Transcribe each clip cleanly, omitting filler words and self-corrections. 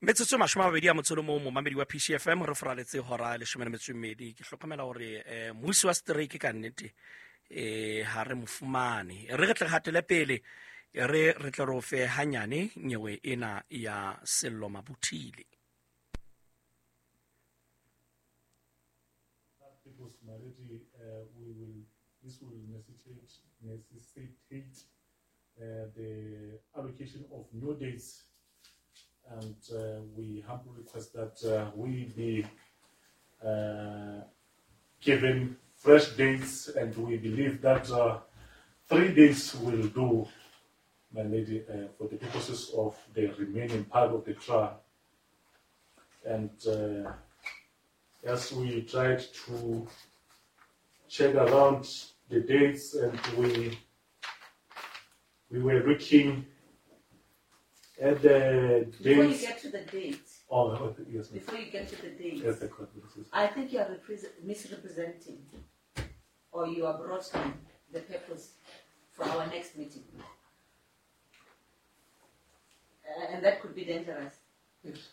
Metsotso 21 momamedi wa PCFM re foraletse hora 12. Ke hlokomela hore mmusi wa strike ka nnete ha re mo fumane. Re tle hatele pele re tle re o fe hanyane nyewe ena ya Sello Mabuthile. This will necessitate the allocation of new dates, and we humbly request that we be given fresh dates, and we believe that 3 days will do, my lady, for the purposes of the remaining part of the trial. And as we tried to check around the dates, and we were looking at the dates. Before you get to the dates. Oh, yes. Before you get to the dates. Yes, the court. Yes. I think you are misrepresenting, or you are broadening the purpose for our next meeting. And that could be dangerous. Yes.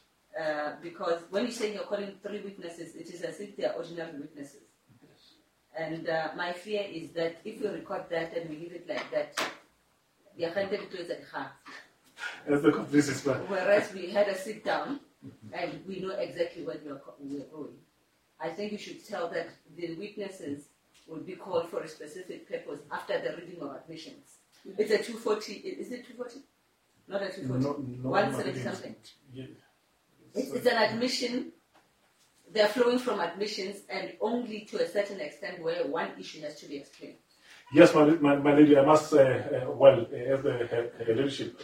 Because when you say you're calling 3 witnesses, it is as if they are ordinary witnesses. Yes. And my fear is that if we record that and we leave it like that, whereas we had a sit down and we know exactly where we are going. I think you should tell that the witnesses will be called for a specific purpose after the reading of admissions. Yes. It's a 240, is it 240? Not a 240. No, 170 something. Yeah. It's an admission. They're flowing from admissions, and only to a certain extent where one issue has to be explained. Yes, my lady, I must, as the leadership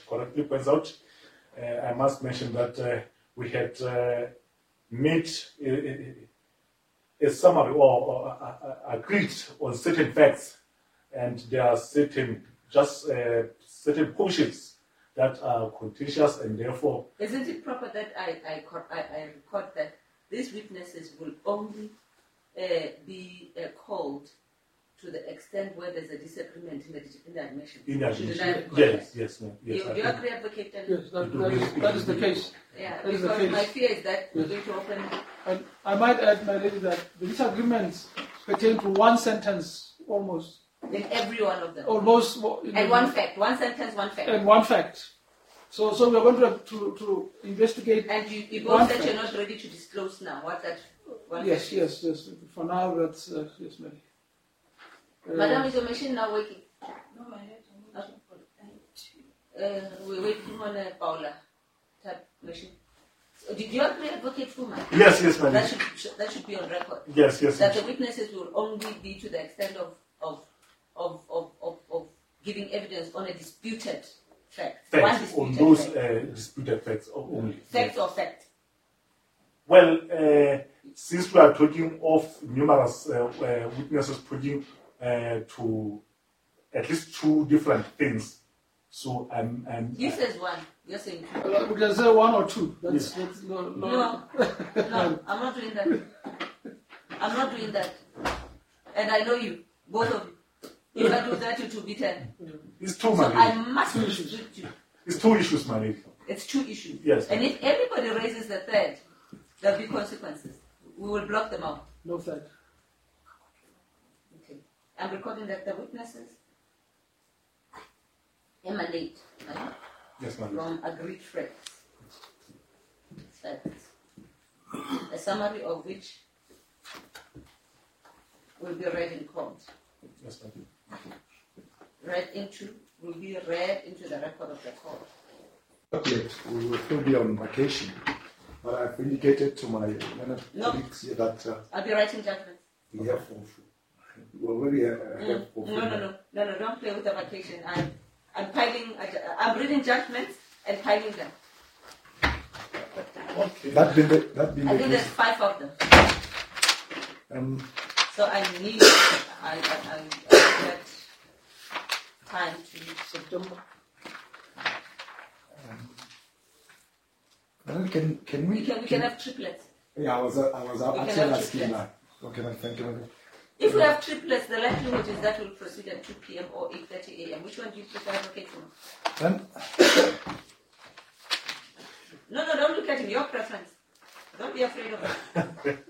correctly points out, I must mention that we had made a summary or agreed on certain facts, and there are certain portions that are contentious, and therefore... Isn't it proper that I record that these witnesses will only be called to the extent where there's a disagreement in the admission? In the admission. Yes, yes, ma'am. Yes, do you agree, Advocate? Yes, that is the case. Yeah, that is because the case. My fear is that we're yes. going to open... And I might add, my lady, that the disagreements pertain to one sentence almost. In every one of them. Almost. And one fact. One sentence, one fact. And one fact. So we are going to investigate. And you both said you're not ready to disclose now what that one yes, fact is. Yes, yes. For now, that's... yes, ma'am. Madam, is your machine now working? No, my head. We're waiting on a Paula type machine. So did you agree, Advocate Fuma? Yes, yes, madam. That should be on record. Yes, yes. That the witnesses will only be to the extent of giving evidence on a disputed fact. Facts, one disputed on those fact. Disputed facts only. Facts or fact? Well, since we are talking of numerous witnesses putting to at least 2 different things, so I'm you says one. You're saying 2. We can say 1 or 2. That's, yes. that's no, no, I'm not doing that. I'm not doing that. And I know you, both of you. If I do that, it will be 10. It's 2, so my lady. I must restrict you. It's 2 issues, my lady. It's 2 issues. Yes. And if everybody raises the third, there'll be consequences. We will block them out. No third. Okay. I'm recording that the witnesses emanate, right? Yes, ma'am. From agreed facts. Facts. A summary of which will be read in court. Yes, ma'am. Will be read into the record of the court. Not yet. We will still be on vacation, but I've indicated to my colleagues here that I'll be writing judgments. We have we already have for No, don't play with the vacation. I'm piling. I'm reading judgments and piling them. Okay. That being the I think there's case. 5 of them. So I need. I get time to September. Can we? We can have triplets. Yeah, I was actually asking that. Okay, thank you. If we have triplets, the likelihood is that we'll proceed at 2 p.m. or 8:30 a.m. Which one do you prefer, Advocate? No, don't look Discretion, your preference. Don't be afraid of it.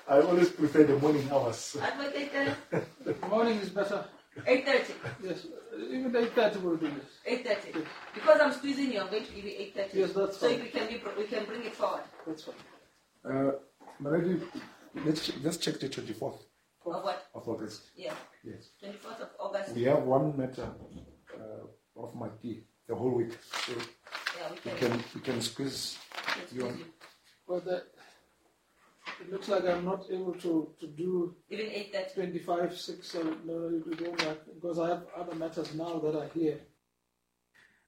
I always prefer the morning hours. Advocate, Morning is better. 8:30. Yes, even 8:30 will do this. 8:30. Because I'm squeezing you, I'm going to give you 8:30. Yes, that's so fine. we can we can bring it forward. That's fine. My lady, let's check the 24th Of what? of August. Yeah. Yes. 24th of August. We have one matter of my tea the whole week, so Yeah, we can. we can squeeze we can you on. squeeze you. Well, it looks like I'm not able to do Even 8:30. 25, 6, 7. No, it won't work because I have other matters now that are here.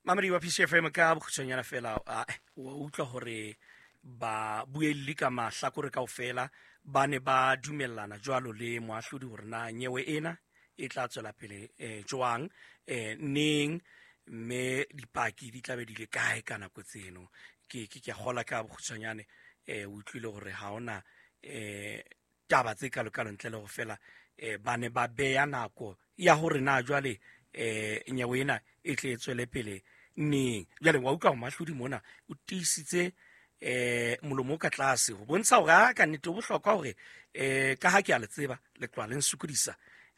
Mamedi wa PCFM, ka bokgutshwanyana fela, wa utlwa hore ba buelli ka mahlakore kaofela ba ne ba dumellana jwalo le moahlodi hore na nyewe ena e tla tswela pele jwang, neng, mme dipaki di tla be di le kae ka nako tseno. Ke a kgola ka bokgutshwanyane, o utlwile hore ha hona taba tse kalokalo ntle le ho fela, ba ne ba beya nako ya hore na jwale nyewe ena e tle e tswele pele neng. Jwale wa utlwa hore moahlodi mona o tiisitse molomo o ka tlase ho bontsha hore a ka nnete ho bohlokwa hore ka ha ke a le tseba le tloha le nsokodisa,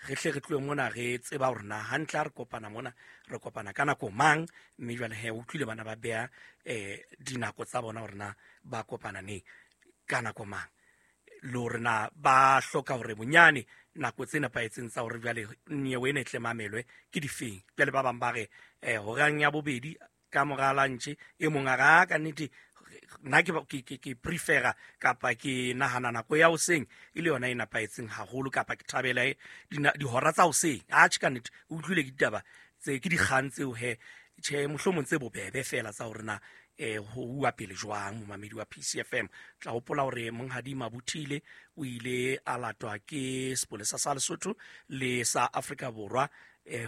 re hle re tlohe mona re tseba hore na hantle ha re kopana mona re kopana ka nako mang. Mme jwale he o utlwile bana ba beha dinako tsa bona hore na ba kopana neng ka nako mang, le hore na ba hloka hore bonyane nako tse nepahetseng tsa hore jwale nyewe ena e tle mamelwe ke difeng. Jwale ba bang ba re horang ya bobedi ka mora lunch, e mong a re, "Ah, ka nnete nna ke prefera kapa ke nahana nako ya hoseng e le yona e nepahetseng haholo, kapa ke thabela dihora tsa hoseng." Atjhe, ka nnete o utlwile ke ditaba tse ke dikgang tseo he, tjhe, mohlomong tse bobebe fela tsa hore na ho uwa pele jwang. Momamedi wa PCFM, tla hopola hore Monghadi Mabuthile o ile a latwa ke sepolesa sa Lesotho le sa Afrika Borwa,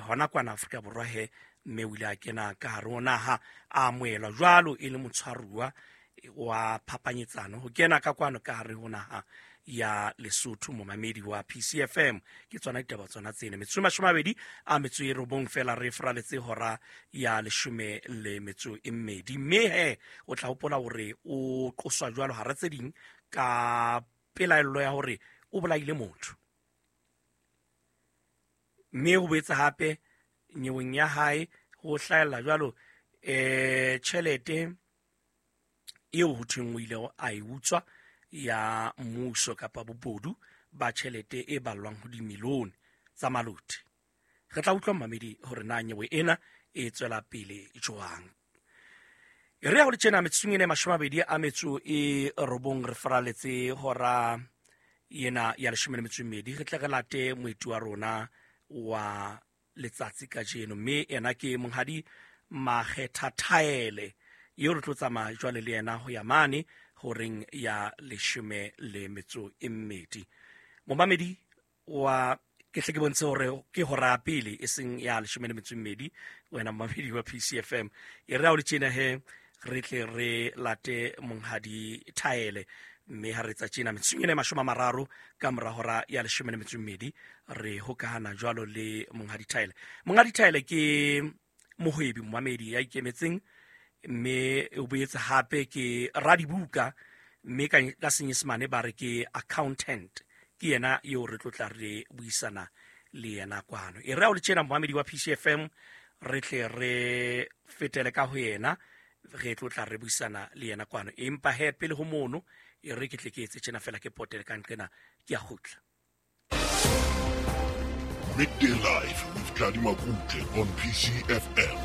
hona kwana Afrika Borwa he, mme o ile a kena ka hare ho naha, a amohelwa jwalo e le motshwaruwa wa phapanyetsano ho kena ka kwano ka hare ho naha ya Lesotho. Momamedi wa PCFM, ke tsona ditaba tsona tsena. Metsotso 29 fela re fraletse hora ya 12. Mme he o tla hopola hore o qoswa jwalo hara tse ding ka pelaello ya hore o bolaile motho, mme ho boetse hape nyeweng ya hae ho hlahella jwalo tjhelete eo ho thweng o ile a e utswa ya mmuso kapa bobodu ba tjhelete e ballwang ho dimilione tsa maloti. Re tla utlwa mmamedi hore na nyewe ena e tswela pele jwang. E re ya ho le tjena metsotsong ena e 29 re faraletse hora ena ya 12. Re tle re late moeti wa rona wa letsatsi kajeno, mme ena ke Monghadi Makgetha Thaele eo re tlo tsamaya jwale le yena ho ya mane horeng ya 12. Momamedi wa ke hle ke bontshe hore ke hora ya pele e seng ya 12, wena momamedi wa PCFM. E re ha o le tjena he re tle re late Monghadi Thaele, mme ha re tsa tjena metsotsong ena e 30 ka mora hora ya 12 re hokahana jwalo le Monghadi Thaele. Monghadi Thaele ke mohwebi momamedi ya ikemetseng, mme o boetse hape ke radibuka, mme ka senyesemane ba re ke accountant. Ke yena eo re tlo tla re buisana le yena kwano. E re ha o le tjena momamedi wa PCFM, re tle re fetele ka ho yena, re tlo tla re buisana le yena kwano. Empa he pele ho mono, e re ke tle ke etse tjena fela ke potele ka nqena, ke a kgutla. Midday Live with Tladi Makutle on PCFM.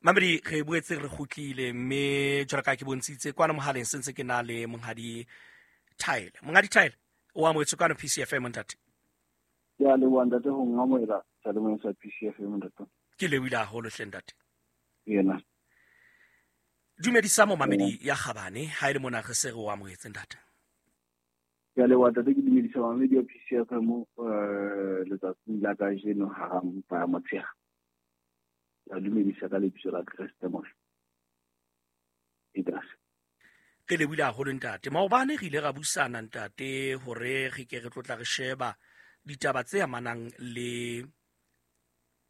Mamedi, re boetse re kgutlile, mme jwalo ka ke bontshitse kwana mohaleng se ntse ke na le Monghadi Thaele. Monghadi Thaele, o amohetswe kwano PCFM ntate. Ke a leboha ntate ho nkamohela seyalemoyeng sa PCFM ntate. Ke lebohile haholo hle ntate. Yena. Dumedisa momamedi ya kgabane ha e le mona re se re o amohetse ntate. Ke a leboha ntate, ke dumedisa momamedi wa PCFM letsatsing la kajeno hara mpa ya motshehare. Ke a dumedisa ka lebitso la Kreste Morena. Itas. Re lebohile haholo ntate. Maobane re ile ra buisana ntate hore re ke re tlo tla re sheba ditaba tse amanang le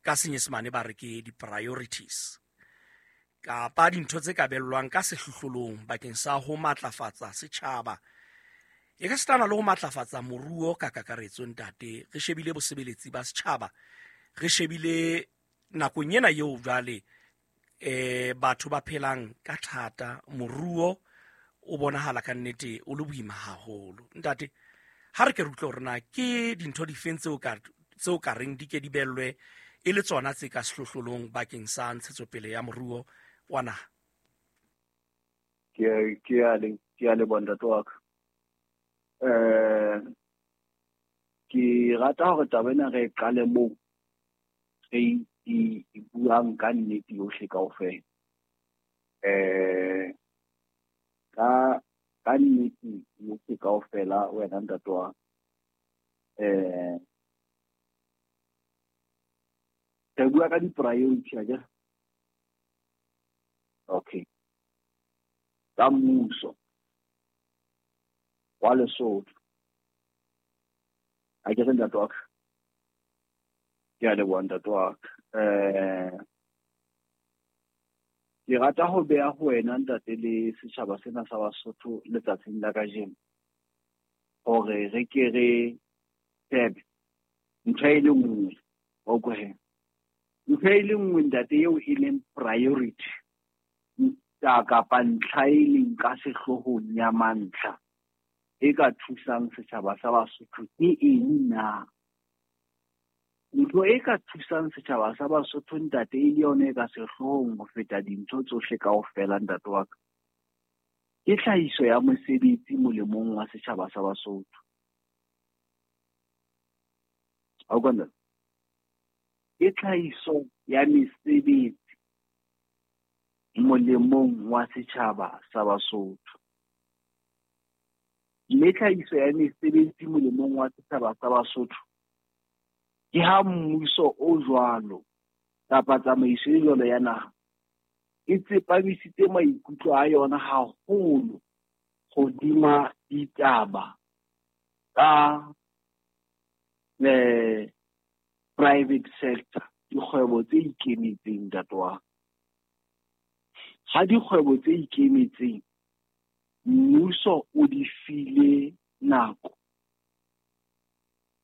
Ka Senyesemane ba re ke di-priorities kapa dintho tse ka bellwang ka sehlohlolong bakeng sa ho matlafatsa setjhaba, e ka setana le ho matlafatsa moruo ka kakaretso. Ntate, re shebile bosebeletsi ba setjhaba, re shebile nakong ena eo jwale batho ba phelang ka thata, moruo o bonahala ka nnete o le boima haholo. Ntate, ha re ke re utlwe hore na ke dintho difeng tseo ka reng di ke di bellwe e le tsona tse ka sehlohlolong bakeng sa ntshetsopele ya moruo wa naha. Ke a leboha, ntate wa ka. Ke rata hore taba ena re e qale moo re e buang ka nnete yohle kaofela. Ka nnete yohle kaofela, wena ntate wa ka. Re bua ka di-priority akere? Okay. Tsa mmuso wa Lesotho. Akere, ntate wa ka? Ke a leboha, ntate wa ka. Ke rata ho beha ho wena, ntate, le setjhaba sena sa Basotho letsatsing la kajeno hore re ke re shebe ntho e le nngwe, wa utlwa he? Ntho e le nngwe, ntate, eo e leng priority kapa ntlha e leng ka sehloohong ya mantlha e ka thusang setjhaba sa Basotho ke eng na? Ntho e ka thusang setjhaba sa Basotho, ntate, e le yona e ka sehloohong ho feta dintho tsohle kaofela, ntate wa ka, ke tlhahiso ya mosebetsi molemong wa setjhaba sa Basotho. Ha utlwa, ntate? Ke tlhahiso ya mesebetsi molemong wa setjhaba sa Basotho. Mme tlhahiso ya mesebetsi molemong wa setjhaba sa Basotho ke ha mmuso o jwalo kapa tsamaiso e jwalo ya naha e tsepamisitse maikutlo a yona haholo hodima ditaba tsa private sector, dikgwebo tse ikemetseng, ntate wa ka. Ha dikgwebo tse ikemetseng mmuso o di file nako,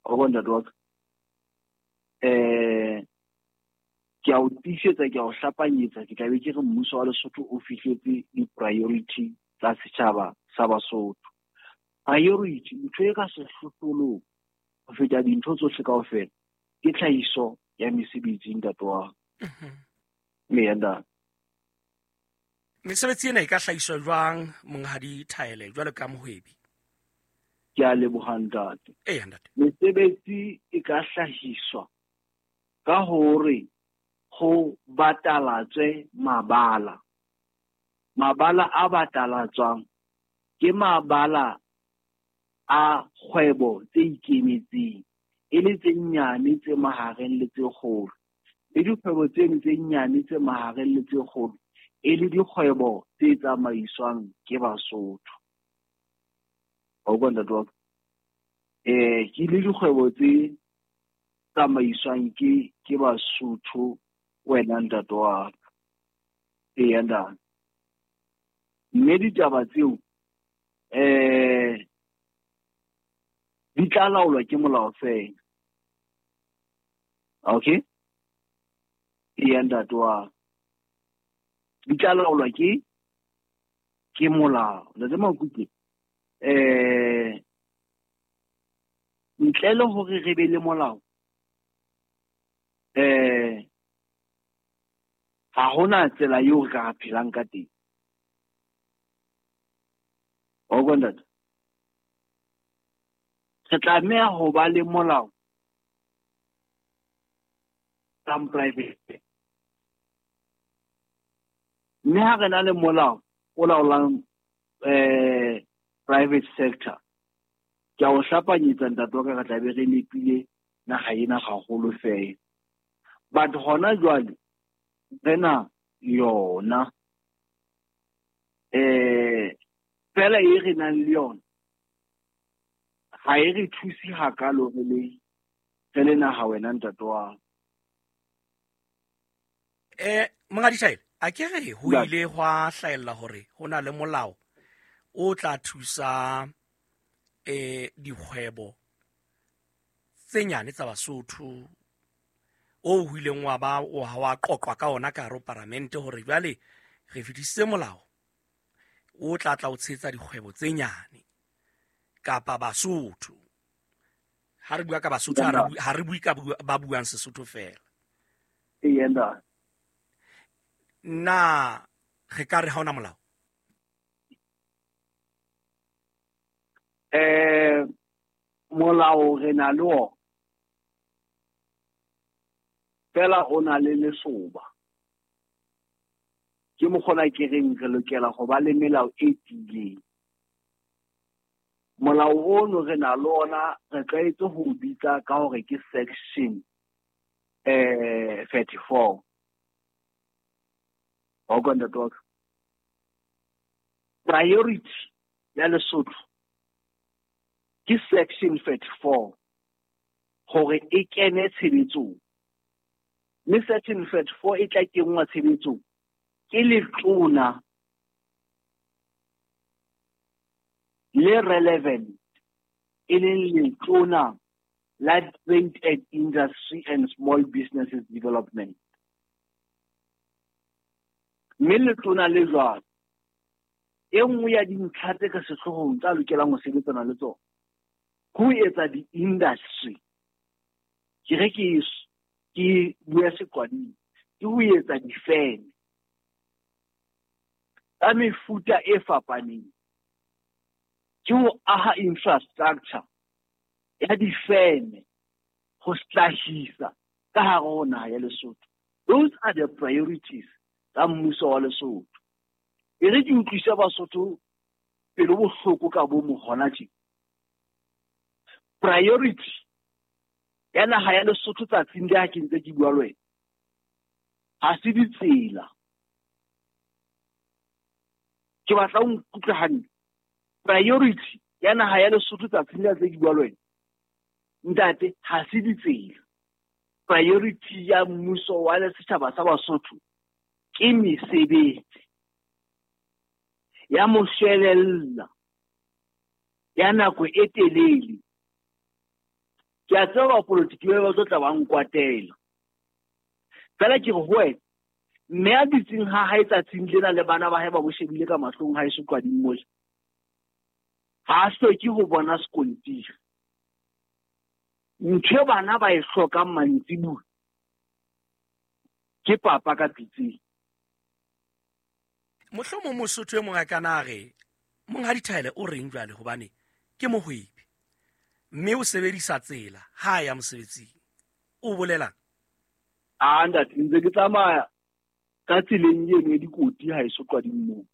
wa bona, ntate wa ka, ke a o tiisetsa, ke a o hlapanyetsa, ke tla be ke re mmuso wa Lesotho o fihletse di-priority tsa setjhaba sa Basotho. Priority, ntho e ka sehlohlolong ho feta dintho tsohle kaofela, ke tlhahiso ya mesebetsi, ntate wa ka. Mme ntate. Mesebetsi ena e ka hlahiswa jwang, monghadi Thaele, jwalo ka mohwebi? Ke a leboha, ntate. Eya, ntate. Mesebetsi e ka hlahiswa ka hore ho batalatswe mabala. Mabala a batalatswang ke mabala a kgwebo tse ikemetseng, e le tse nyane, tse mahareng le tse kgolo. Le dikgwebo tseno tse nyane, tse mahareng le tse kgolo e le dikgwebo tse tsamaiswang ke Basotho. Wa utlwa, ntate wa ka? Ke le dikgwebo tse tsamaiswang ke Basotho, wena ntate wa ka. Eya, ntate. Mme ditaba tseo di tla laolwa ke molao fela. Okay? Eya, ntate wa ka. Di tla laolwa ke molao. Ntate Makuke, ntle le hore re be le molao, ha hona tsela eo re ka phelang ka teng. Wa utlwa, ntate? Re tlameha ho ba le molao tsa private. Mme ha re na le molao o laolang private sector, ke a o hlapanyetsa, ntate wa ka, re tla be re nepile naha ena haholo fela. But hona jwale re na yona fela e re nang le yona ha e re thuse hakalo re le naha, wena ntate wa. Monghadi Thaele, a ke re ho ile hwa hlahella hore ho na le molao o tla thusa dikgwebo tse nyane tsa Basotho, o ho ileng wa ba wa qoqwa ka ona ka hare ho paramente hore jwale re fetisitse molao o tla tla o tshehetsa dikgwebo tse nyane kapa Basotho. Ha re bua ka Basotho, ha re bue ka ba buang Sesotho fela. Na re ka re ha ona molao? Molao re na le ona, fela o na le lesoba. Ke mokgona ke reng re lokela ho ba le melao e tiileng. Molao ono re na le ona, re tlwaetse ho o bitsa ka hore ke section 34. Wa utlwa ntate wa ka? Priority ya Lesotho ke section 34 hore e kene tshebetsong. Mme section 34 e tla kenngwa tshebetsong ke letona le relevant, e leng letona la Trade and Industry and Small Businesses Development. Mme letona le jwalo, e nngwe ya dintlha tse ka sehloohong tsa lokelang ho sebetsana le tsona ke ho etsa di-industry. Ke re ke bua seqwading, ke ho etsa difeme tsa mefuta e fapaneng, ke ho aha infrastructure ya difeme ho hlahisa ka hare ho naha ya Lesotho. Those are the priorities tsa mmuso wa Lesotho. E re ke utlwise Basotho pelo bohloko ka bo mo hona tje. Priority ya naha ya Lesotho tsatsing le ha ke ntse ke bua le wena, ha se ditsela. Ke batla o nkutlwe hantle. Priority ya naha ya Lesotho tsatsing le ha ntse ke bua le wena, ntate, ha se ditsela. Priority ya mmuso wa setjhaba sa Basotho ke mesebetsi ya moshwelella ya nako e telele. Ke a tseba bapolotiki ba tlo tla ba nkwatela. Fela ke re ho wena, mme a dutseng ha hae tsatsing lena le bana ba hae ba mo shebile ka mahlong ha eso qading mole, ha a hloke ho bona sekontiri. Ntho e bana ba e hlokang mantsibuya ke papa ka pitseng. Mohlomong Mosotho e mong a ka na re Monghadi Thaele o reng jwale, hobane ke mohwebi mme o sebedisa tsela ha a ya mosebetsing. O bolelang? A ntate, ntse ke tsamaya ka tseleng eno ya dikoti ha eso qading moo.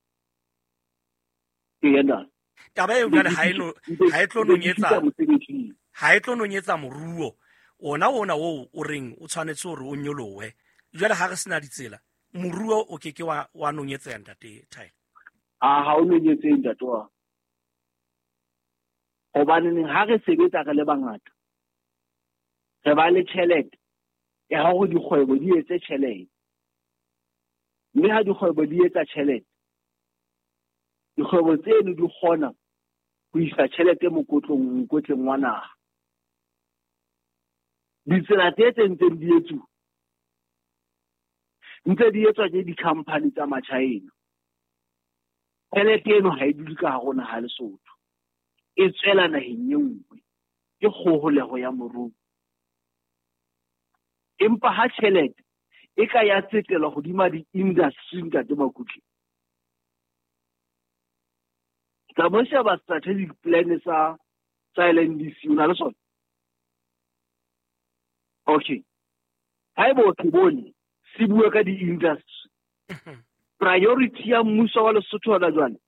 Eya ntate. Taba eo jwale ha e tlo nonyetsa, ha e tlo nonyetsa moruo ona oo o reng o tshwanetse hore o nyolohe. Jwale ha re sena ditsela, moruo o ke ke wa nonyetseha ntate Thaele. A ha o nonyetse ntate wa. Hobaneng ha re sebetsa re le bangata, re ba le tjhelete ya hore dikgwebo di etse tjhelete. Mme ha dikgwebo di etsa tjhelete, dikgwebo tseno di kgona ho isa tjhelete mokotleng wa naha. Ditsela tse tse ntseng di etsuwa, ntse di etswa ke di-company tsa Machina. Tjhelete eno ha e dule ka hare ho naha ya Lesotho, e tswela naheng e nngwe. Ke kgoholeho ya moruo. Empa ha tjhelete e ka ya tsetelwa hodima di-industry ntate Makutle, tla mo sheba strategic plan sa LNDC, o na le sona? Okay. Haeba o se bone, se bua ka di-industry. Priority ya mmuso wa Lesotho hona jwale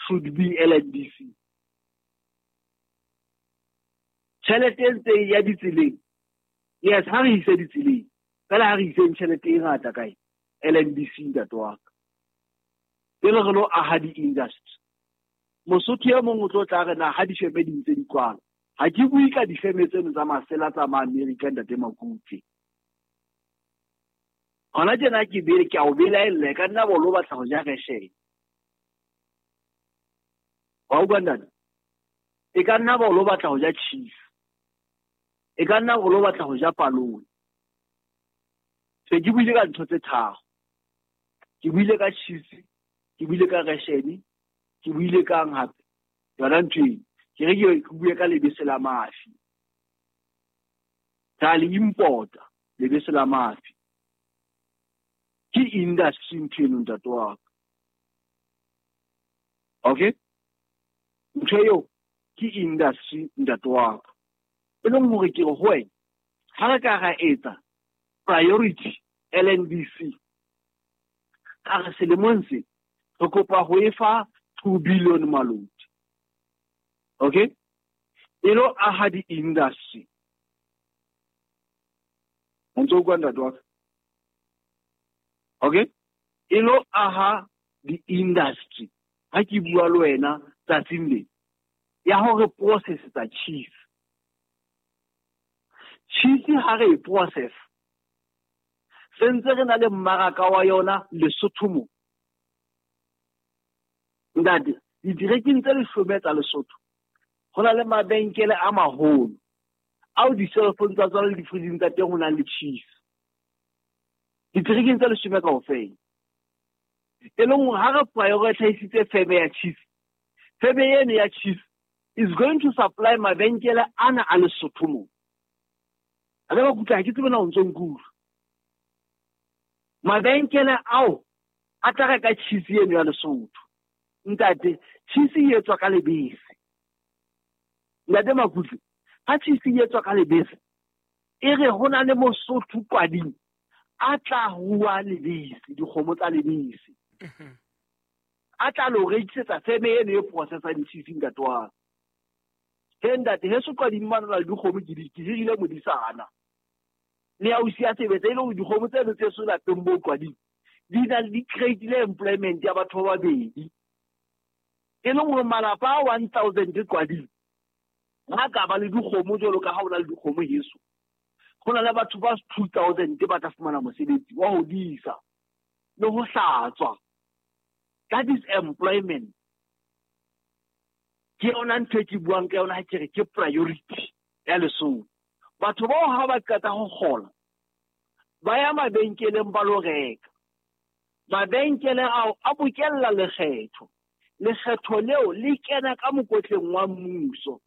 should be LNDC. Tjhelete e ntse ya ditseleng, yes, ha re ise ditseleng, fela ha re iseng tjhelete e ngata kae? LNDC ntate wa ka. Pele re lo aha di-industry. Mosotho e mong o tlo tla re na ha difeme di ntse di kwala. Ha ke bue ka difeme tseno tsa masela tsa ma-Amerika ntate Makutle. Hona tjena ke bele ke a o belaella ka nna bo lo batla ho ja reshene. Wa utlwa ntate? E ka nna ba o lo batla ho ja cheese. E ka nna o lo batla ho ja palone. Se ke buile ka ntho tse tharo. Ke buile ka cheese, ke buile ka reshene, ke buile kang hape. Yona ntho eno. Ke re ke bue ka lebese la mafi. Ra le importa lebese la mafi. Ke industry ntho eno ntate wa ka. Okay? Ntho eo ke industry ntate wa ka. E leng hore ke re ho wena, ha re ka ra etsa priority LNDC, ka re selemong se re kopa ho e fa 2 billion maloti. Okay? E lo aha di-industry. O ntso utlwa ntate wa ka? Okay? E lo aha di-industry. Ha ke bua le wena tsatsing le ya hore process-etsa cheese. Cheese ha re e process, se ntse re na le mmaraka wa yona Lesotho mo. Ntate, diterekeng tse 10 tsa Lesotho, ho na le mabenkele a maholo ao di-cellphone tsa tsona le di-fridge tsa teng ho nang le cheese. Diterekeng tse 10 kaofela. E leng hore ha re prioritize feme ya cheese, feme eno ya cheese is going to supply mabenkele ana a Lesotho mo. A ka ba kutlwa, ha ke tsebe na o ntso nkutlwa. Mabenkele ao a tla reka cheese eno ya Lesotho. Ntate, cheese e etswa ka lebese. Ntate Makutle, ha cheese e etswa ka lebese, e re ho na le Mosotho kwading a tla rua lebese, dikgomo tsa lebese. A tla lo rekisetsa feme eno e processang cheese ntate wa ka. He ntate, heso kwading mane na le dikgomo ke di ke hirile modisana. Le ausi ya sebetsa e le hore dikgomo tseno tse so lapeng bo kwading di na le di create-ile employment ya batho ba babedi. E leng hore malapa a 1000 kwading ha ka ba le dikgomo jwalo ka ha o na le dikgomo heso. Ho na le batho ba 2000 ba tla fumana mosebetsi wa ho disa le ho hlatswa. That is employment. Ke yona ntho e ke buang ka yona ha ke re ke priority ya Lesotho. Batho bao ha ba qeta ho kgola, ba ya mabenkeleng ba lo reka. Mabenkele ao a bokella lekgetho. Lekgetho leo le kena ka mokotleng wa mmuso.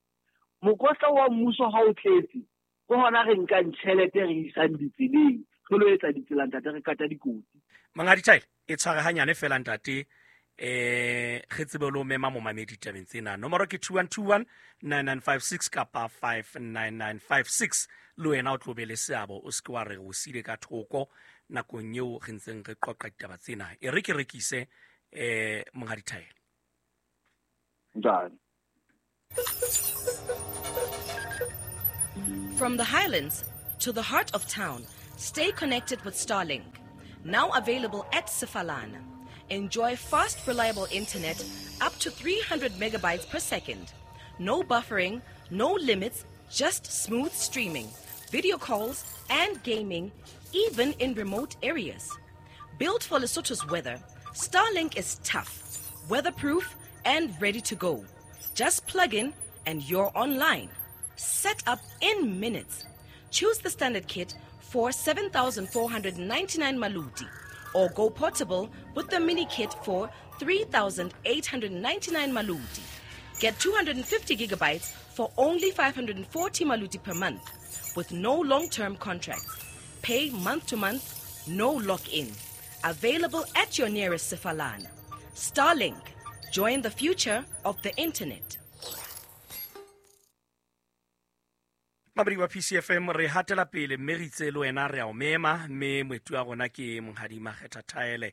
Mokotla wa mmuso ha o tletse, ke hona re nkang tjhelete re isang ditseleng, re lo etsa ditsela ntate, re kata dikotsi. Monghadi Thaele, e tshware hanyane fela ntate, re tsebe le ho mema momamedi tabeng tsena. Nomoro ke 2121 9956 kapa 59956. Le wena o tlo be le seabo, o se ke wa re o siile ka thoko nakong eo re ntseng re qoqa ditaba tsena. E re ke rekise Monghadi Thaele. Njani? From the Highlands to the heart of town, stay connected with Starlink. Now available at Sefalana. Enjoy fast, reliable internet up to 300 megabytes per second. No buffering, no limits, just smooth streaming, video calls, and gaming, even in remote areas. Built for Lesotho's weather, Starlink is tough, weatherproof, and ready to go. Just plug in and you're online. Set up in minutes. Choose the standard kit for 7,499 maluti, or go portable with the mini kit for 3,899 maluti. Get 250 gigabytes for only 540 maluti per month, with no long-term contracts. Pay month to month, no lock-in. Available at your nearest Sefalana. Starlink. Join the future of the internet. Mamedi wa PCFM, re hatela pele mme re itse le wena re a o mema, mme moeti wa rona ke Monghadi Makgetha Thaele,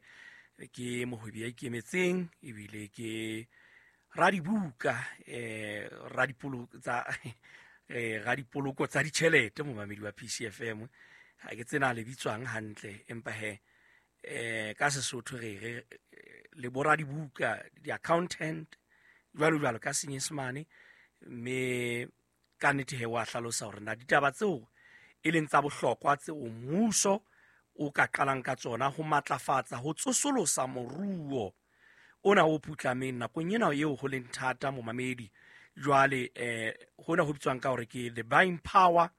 ke mohwebi ya ikemetseng ebile ke radibuka, radipoloko tsa ditjhelete, momamedi wa PCFM. Ha ke tsena le bitswang hantle, empa he ka Sesotho re re le boradibuka, di-accountant jwalo jwalo ka Senyesemane, mme ka nnete he wa hlalosa hore na ditaba tseo e leng tsa bohlokwa tseo mmuso o ka qalang ka tsona ho matlafatsa ho tsosolosa moruo ona o putlameng nakong ena eo ho leng thata momamedi. Jwale hona ho bitswang ka hore ke the buying power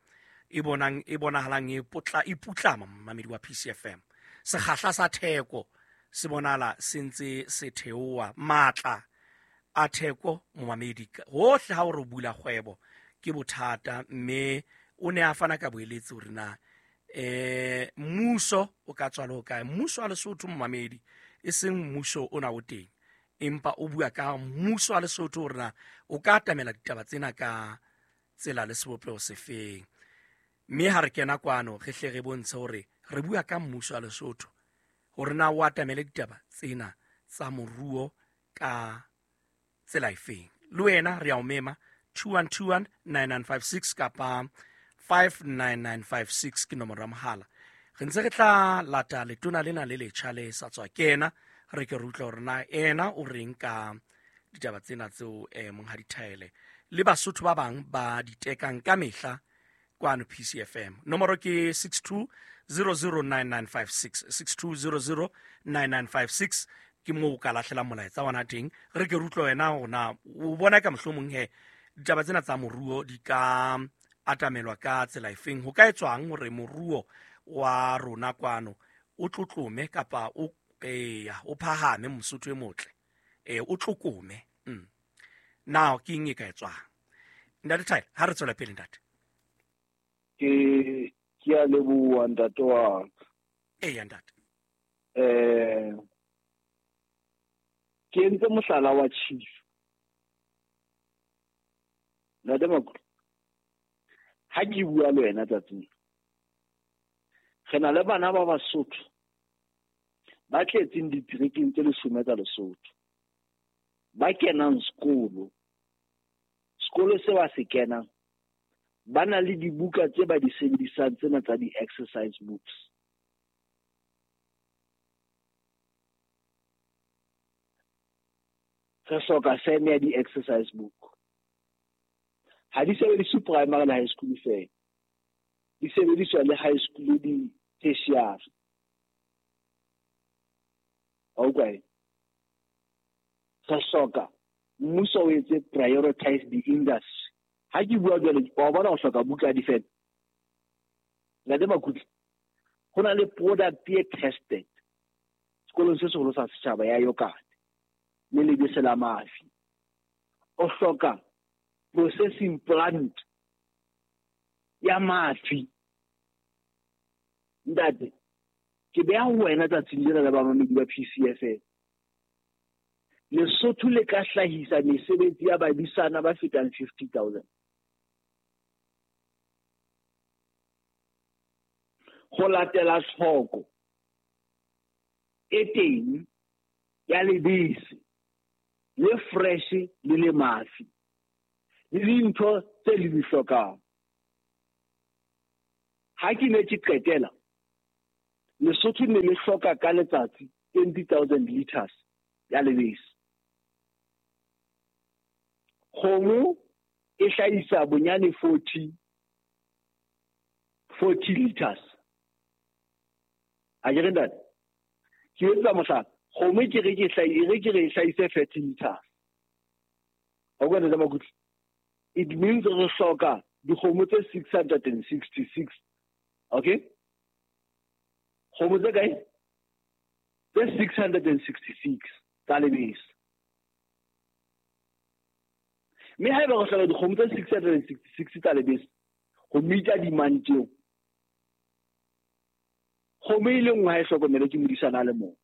e bonang e bonahalang e potla e putlama momamedi wa PCFM. Sekgahla sa theko se bonahala se ntse se theoha, matla a theko momamedi hohle ha o re bula kgwebo ke bothata, mme o ne a fana ka boeletsi hore na mmuso o ka tswa le ho kae. Mmuso wa Lesotho momamedi, e seng mmuso ona o teng, empa o bua ka mmuso wa Lesotho hore na o ka atamela ditaba tsena ka tsela le sebopeho sefeng. Mme ha re kena kwano re hle re bontshe hore re bua ka mmuso wa Lesotho hore na o atamele ditaba tsena tsa moruo ka tsela efeng. Le wena re a o mema 2121 9956 kapa 59956 ke nomoro ya mohala. Re ntse re tla lata letona lena le letjha le sa tswa kena, re ke re utlwe hore na ena o reng ka ditaba tsena tseo Monghadi Thaele le Basotho ba bang ba di tekang ka mehla kwano PCFM. Nomoro ke 62009956, 62009956 ke moo o ka lahlela molaetsa wa teng. Re ke re utlwe wena hore na o bona ka mohlomong he ditaba tsena tsa moruo di ka atamelwa ka tsela efeng, ho ka etswang hore moruo wa rona kwano o tlotlome kapa o o phahame, Mosotho e motle, o tlokome. Now ke eng e ka etswang? Ntate Thaele, ha re tswela pele ntate. Ke a leboha ntate wa ka. Eya ntate. Ke entse mohlala wa chief. Ntate Makutle, ha ke bua le wena tsatsing, re na le bana ba Basotho ba tletseng diterekeng tse 10 tsa Lesotho, ba kenang sekolo. Sekolo se ba se kenang ba na le dibuka tse ba di sebedisang tsena tsa di-exercise books. Re hloka feme ya di-exercise book. Ha di sebediswe primary le high school fela, di sebediswa le high school le di-tertiary. Okay. Re hloka mmuso o etse prioritize the industry. Ha ke bua jwale, wa bona o hloka buka ya difeme. Ntate Makutle, ho na le product e tested sekolong se seholo sa setjhaba ya yogurt le lebese la mafi. O hloka processing plant ya mafi. Ntate, ke beha ho wena tsatsing lena la bamamedi ba PCFM. Lesotho le ka hlahisa mesebetsi ya badisana ba fetang 50,000. Ho latela tlhoko e teng ya lebese le fresh le le mafi le dintho tse le di hlokang. Ha ke ne ke qetela, Lesotho ne le hloka ka letsatsi 20,000 liters ya lebese. Kgomo e hlahisa bonyane 40 liters. A ke re ntate, ke etsa mohlala, kgomo ke re ke hlahise 30 liters. Wa utlwa ntate Makutle? It means re hloka dikgomo tse 666. Okay? Kgomo tse kae? Tse 666 tsa lebese. Mme haeba re hloka dikgomo tse 666 tsa lebese ho meet-a demand tseo, kgomo e le nngwe ha e hlokomelwe ke modisana a le mong,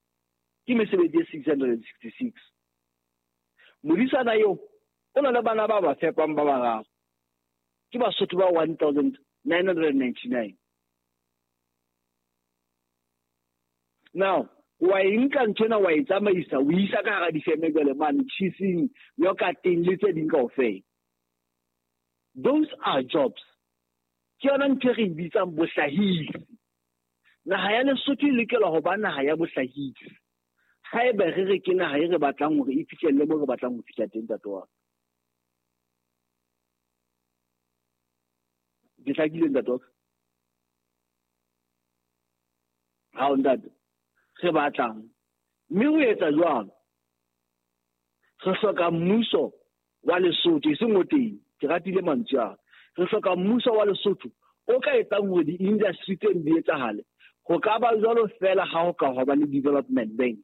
ke mesebetsi e 666. Modisana eo o na le bana ba ba fepang ba bararo, ke Basotho ba 1999. Now, wa e nka nthwena wa e tsamaisa, o isa ka hara difeme jwale mane, cheesing, yogurteng le tse ding kaofela. Those are jobs. Ke yona ntho e re e bitsang bohlahisi. Naha ya Lesotho e lokela ho ba naha ya bohlahisi. Haeba re re ke naha e re batlang hore e fihlelle moo re batlang ho fihla teng, ntate wa ka. Ke hlakile, ntate wa ka? Ha o ntate, re batlang. Mme ho etsa jwalo, re hloka mmuso wa Lesotho, eseng o teng, ke ratile mantswe ao. Re hloka mmuso wa Lesotho o ka etsang hore di-industry tseno di etsahale. Ho ka ba jwalo feela ha ho ka hwa ba le development bank,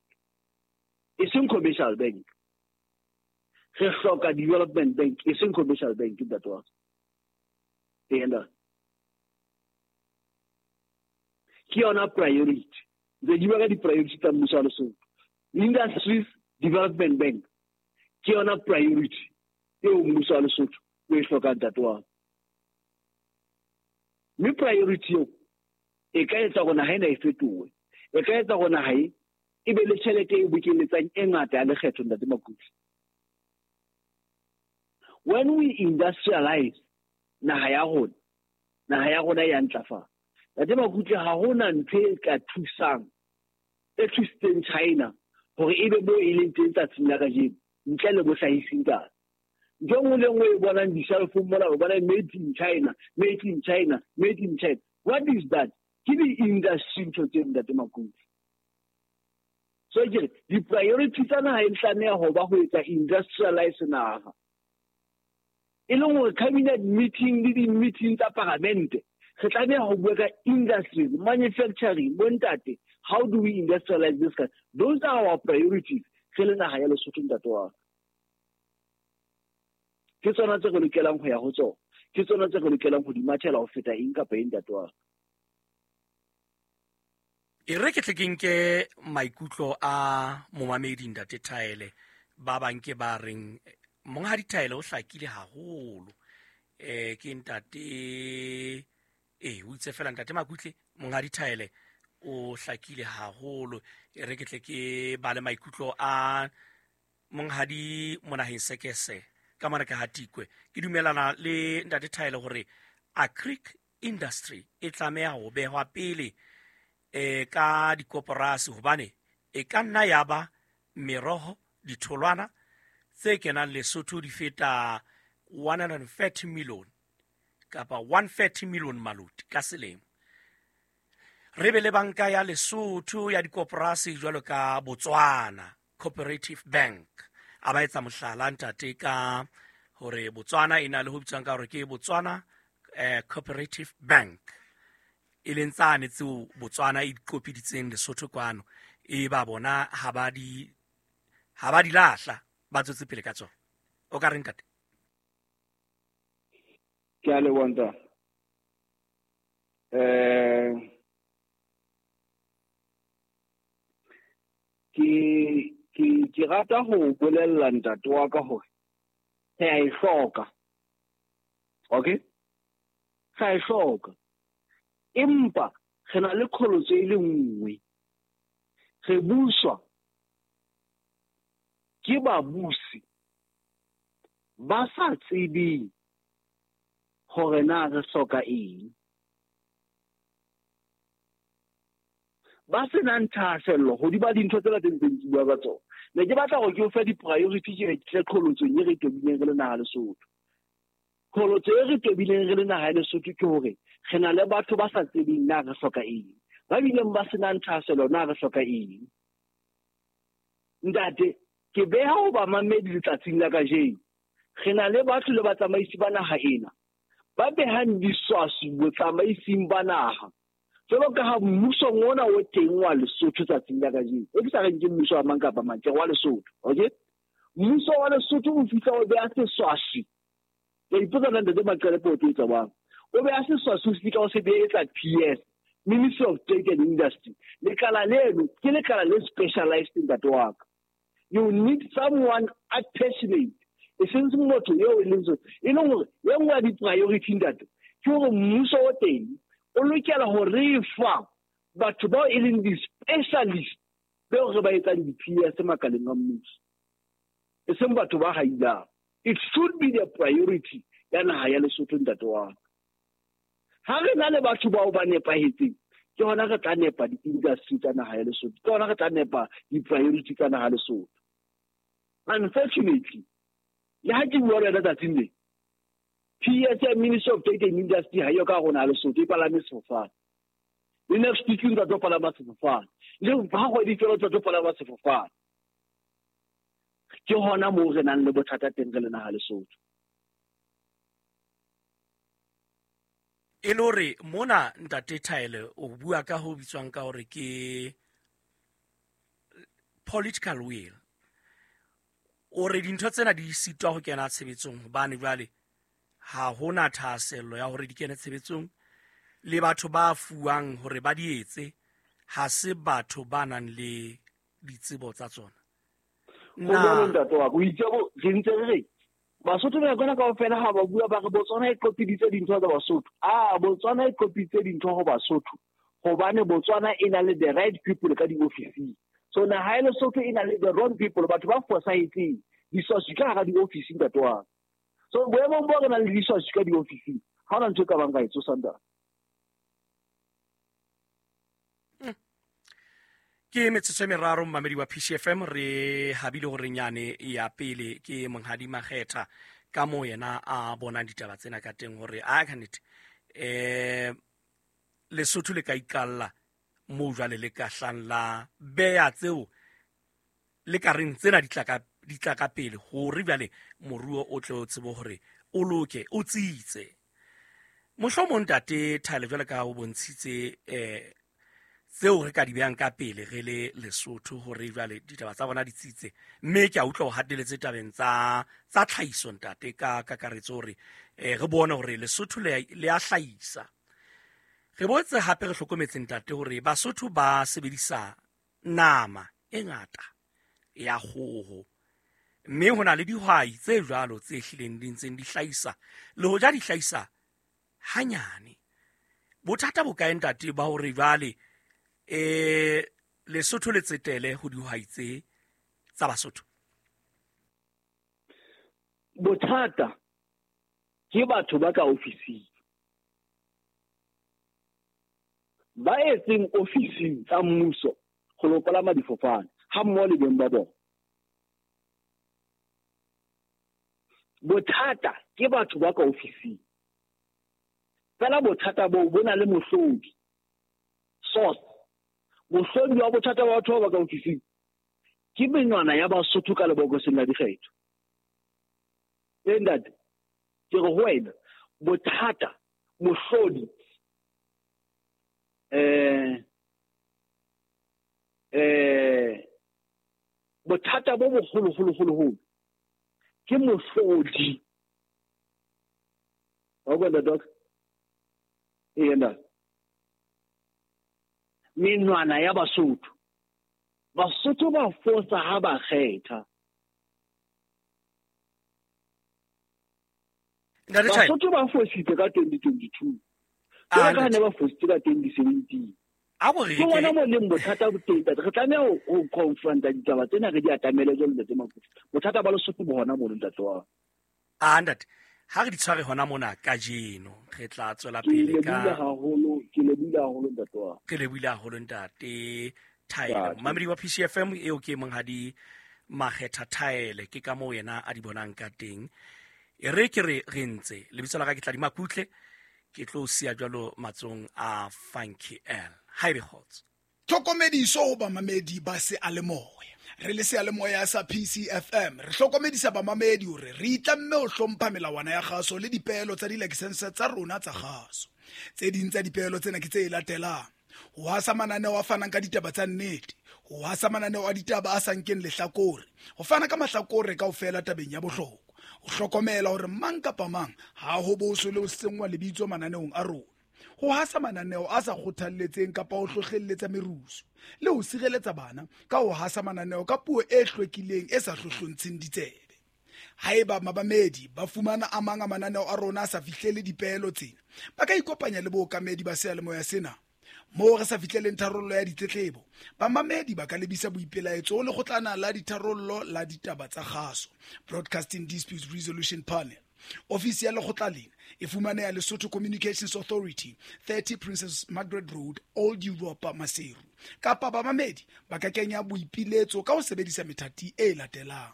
eseng commercial bank. Re hloka development bank, eseng commercial bank, ntate wa ka. Ee, ntate. Ke yona priority. Ntse ke bua ka di-priority tsa mmuso wa Lesotho. Industries Development Bank ke yona priority eo mmuso wa Lesotho o e hlokang, ntate wa ka. Mme priority eo e ka etsa hore naha ena e fetohe. E ka etsa hore naha e e be le tjhelete e bokeletsang e ngata ya lekgetho, ntate Makutle. When we industrialize naha ya rona, naha ya rona e a ntlafala. Ntate Makutle, ha hona ntho e ka thusang, e thusitseng China hore ebe moo e leng teng tsatsing la kajeno, ntle le bohlahisi ntate. Ntho e nngwe le nngwe e bonang di-shelf-ong mona, o bona made in China, made in China, made in China. What is that? Ke di-industry ntho tseo, ntate Makutle. So ke re, di-priority tsa naha e tlameha ho ba ho etsa industrialize naha. E leng hore cabinet meeting le di-meeting tsa paramente, re tlameha ho bua ka industries, manufacturing, bontate. How do we industrialize this country? Those are our priorities. Re le naha ya Lesotho, ntate wa ka. Ke tsona tse re lokelang ho ya ho tsona. Ke tsona tse re lokelang ho di mathela ho feta eng kapa eng, ntate wa ka. E re ke tle ke nke maikutlo a momamedi, ntate Thaele, ba bang ke ba reng monghadi Thaele o hlakile haholo. Ke ntate, o itse fela ntate Makutle, monghadi Thaele o hlakile haholo. E re ke tle ke bale maikutlo a monghadi Monaheng Sekese ka mona ka Hatikwe. Ke dumelana le ntate Thaele hore agric industry e tlameha ho behwa pele ka dikoporasi, hobane e ka nna ya ba meroho, ditholwana tse kenang Lesotho di feta 130 million kapa 130 million maloti ka selemo. Re be le banka ya Lesotho ya dikoporasi jwalo ka Botswana Cooperative Bank. A ba etsa mohlala ntate ka hore Botswana e na le ho bitswang ka hore ke Botswana Cooperative Bank, e leng tsane tseo Botswana e di qopiditseng Lesotho kwano, e ba bona ha ba di lahla, ba tswetse pele ka tsona. O ka reng ntate? Ke a leboha ntate. Ke rata ho bolella ntate wa ka hore re a e hloka. Okay? Re a e hloka. Empa re na le qholotso e le nngwe. Re buswa ke babusi ba sa tsebeng hore na re hloka eng. Ba senang thahasello hodima dintho tsena tse ntseng ke bua ka tsona. Ne ke batla hore ke o fe di-priority ke re tle qholotsong e re tobileng re le naha Lesotho. Qholotso e re tobileng re le naha ya Lesotho ke hore re na le batho ba sa tsebeng na re hloka eng, ba bileng ba senang thahasello na re hloka eng. Ntate, ke beha ho ba mamedi letsatsing la kajeno. Re na le batho le batsamaisi ba naha ena ba behang diswaswi botsamaising ba naha. Jwalo ka ha mmusong ona o teng wa Lesotho tsatsing la kajeno, e ke sa reng ke mmuso wa mang kapa mang, ke wa Lesotho, okay? Mmuso wa Lesotho o fihla o beha seswaswi. Ke ipotsa na ntate Maqelepo o tlo etsa jwang? O beha seswaswi o fihla o se beetsa PS, Ministry of Trade and Industry. Lekala leno ke lekala le specialized, ntate wa ka. You need someone passionate, e seng motho eo e leng e leng hore e nngwe ya di-priority ntate ke hore mmuso o teng o lokela ho re fa batho bao e leng di-specialist beo re ba etsang di-PS makaleng a mmuso, e seng batho ba hailang. It should be the priority ya naha ya Lesotho, ntate wa ka. Ha re na le batho bao ba nepahetseng, ke hona re tla nepa di-industry tsa naha ya Lesotho, ke hona re tla nepa di-priority tsa naha ya Lesotho. Unfortunately, le ha ke bua le wena tsatsing le, PS ya Ministry of Trade and Industry ha eyo ka rona Lesotho, e palame sefofane. Le next week o ntsa tlo palama sefofane. Le ha kgwedi fela o tsa tlo palama sefofane. Ke hona moo re nang le bothata teng re le naha Lesotho. E le hore mona ntate Thaele o bua ka ho bitswang ka hore ke political will. O re dintho tsena di sitwa ho kena tshebetsong hobane jwale ha hona thahasello ya hore di kene tshebetsong, le batho ba fuwang hore ba di etse ha se batho ba nang le ditsebo tsa tsona. Na ntate wa ka, o itse re ntse re re Basotho ba kona kaofela ha ba bua ba re Botswana e qopiditse dintho tsa Basotho. Ah, Botswana e qopiditse dintho ho Basotho hobane Botswana e na le the right people ka diofising. So naha ya Lesotho e na le the wrong people, batho ba fosahetseng, diswaswi ka hara diofisi ntate wa ka. So boemong bo re nang le diswaswi ka diofising, ha hona ntho e ka bang ka e tsosa ntate. Ke metsotso e meraro mmamedi wa PCFM re habile hore nyane ya pele ke Monghadi Makgetha ka moo yena a bonang ditaba tsena ka teng hore a ka nnete Lesotho le ka ikalla moo jwale le ka hlang la beya tseo le ka reng tsena di tla ka pele hore jwale moruo o tle o tsebe hore o loke o tsitse. Mohlomong ntate Thaele jwale ka o bontshitse tseo re ka di behang ka pele re le Lesotho hore jwale ditaba tsa bona di tsitse, mme ke a utlwa o hateletse tabeng tsa tlhahiso ntate ka kakaretso hore re bone hore Lesotho le a hlahisa. Re boetse hape re hlokometse ntate hore Basotho ba sebedisa nama e ngata ya kgoho, mme ho na le dihwai tse jwalo tse hlileng di ntseng di hlahisa le hoja di hlahisa hanyane. Bothata bo kae ntate ba hore jwale Lesotho le tsetele ho dihwai tse tsa Basotho? Bothata ke batho ba ka ofising, ba etseng ofising tsa mmuso ho lo palama difofane ha mmoho le beng ba bona. Bothata ke batho ba ka ofising. Fela bothata boo bo na le mohlodi, source. Mohlodi wa bothata ba batho ba ka ofising ke menwana ya Basotho ka lebokoseng la dikgetho. E ntate, ke re ho wena bothata mohlodi bothata bo boholo holo holo holo ke mohlodi. Wa utlwa ntate wa ka? Ee ntate. Menwana ya Basotho. Basotho ba fosa ha ba kgetha. Basotho ba fositse ka 2022. Ka ne ba fositse ka 2017. Ke bona mo leng bothata bo teng. Re tlameha ho confronta ditaba tsena re di atamele jwalo ntate Makuti. Bothata ba Lesotho bo hona mono ntate wa. Ah ntate, ha re di tshware hona mona kajeno, re tla tswela pele ka ke lebohile haholo ntate wa. Ke lebohile haholo ntate Thaele. Mamedi wa PCFM eo ke Monghadi Makgetha Thaele, ke ka moo yena a di bonang ka teng. E re ke re re ntse lebitso la ka ke Tladi Makutle, ke tlo siya jwalo matsong a Funky L. Haebe kgotso. Tlhokomediso ho bamamedi ba seyalemoya. Re le seyalemoya sa PCFM re hlokomedisa bamamedi hore re itlamme ho hlompha melawana ya kgaso le dipeelo tsa dilakesense tsa rona tsa kgaso. Tse ding tsa dipeelo tsena ke tse latelang: ho hasa mananeo a fanang ka ditaba tsa nnete, ho hasa mananeo a ditaba a sa nkeng lehlakore, ho fana ka mahlakore kaofela tabeng ya bohlokwa, ho hlokomela hore mang kapa mang ha ho boswe le ho senngwa lebitso mananeong a rona, ho hasa mananeo a sa kgothalletseng kapa ho hlohlelletsa merusu, le ho sireletsa bana ka ho hasa mananeo ka puo e hlwekileng e sa hlohlontsheng ditsebe. Haeba mabamedi ba fumana a mang a mananeo a rona a sa fihlele dipeelo tsena, ba ka ikopanya le bookamedi ba seyalemoya sena. Moo re sa fihleleng tharollo ya ditletlebo, bamamedi ba ka lebisa boipelaetso ho lekgotlana la ditharollo la ditaba tsa kgaso, Broadcasting Disputes Resolution Panel. Ofisi ya lekgotla lena e fumaneha Lesotho Communications Authority, 30 Princess Margaret Road, Old Europa, Maseru. Kapa bamamedi ba ka kenya boipiletso ka ho sebedisa methati e latelang: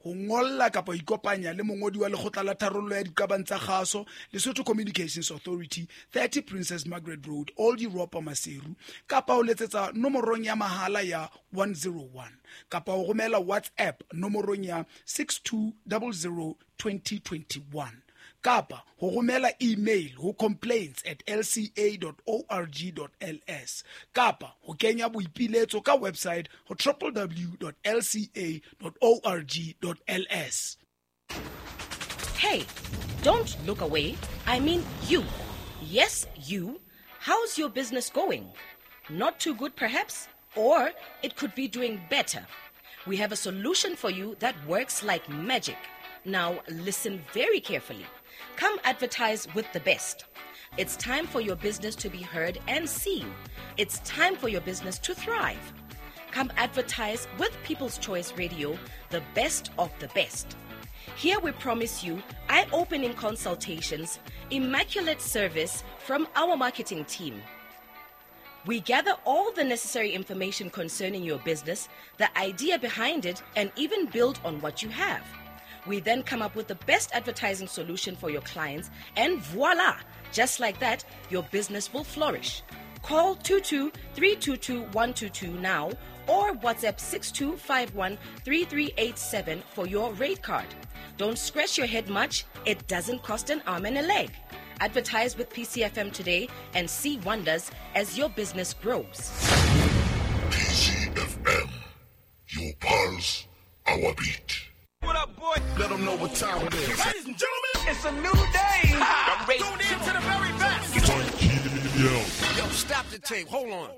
Ho ngolla kapa ho ikopanya le mongodi wa lekgotla la tharollo ya diqabang tsa kgaso, Lesotho Communications Authority, 30 Princess Margaret Road, Old Europa, Maseru, kapa ho letsetsa nomorong ya mahala ya 101, kapa ho romela WhatsApp nomorong ya 6200 2021, kapa ho romela email ho complaints@lca.org.ls, kapa ho kenya boipiletso ka website ho www.lca.org.ls. Hey, don't look away. I mean you. Yes, you. How's your business going? Not too good, perhaps? Or it could be doing better. We have a solution for you that works like magic. Now, listen very carefully. Come advertise with the best. It's time for your business to be heard and seen. It's time for your business to thrive. Come advertise with People's Choice Radio, the best of the best. Here we promise you eye-opening consultations, immaculate service from our marketing team. We gather all the necessary information concerning your business, the idea behind it, and even build on what you have. We then come up with the best advertising solution for your clients, and voila! Just like that, your business will flourish. Call 22-322-122 now or WhatsApp 6251-3387 for your rate card. Don't scratch your head much. It doesn't cost an arm and a leg. Advertise with PCFM today and see wonders as your business grows. PCFM, your pulse, our beat. What up, boy? Let them know what time it is. Ladies and gentlemen, it's a new day. I'm ready. Tune in to the very best. Yo, stop the tape. Hold on.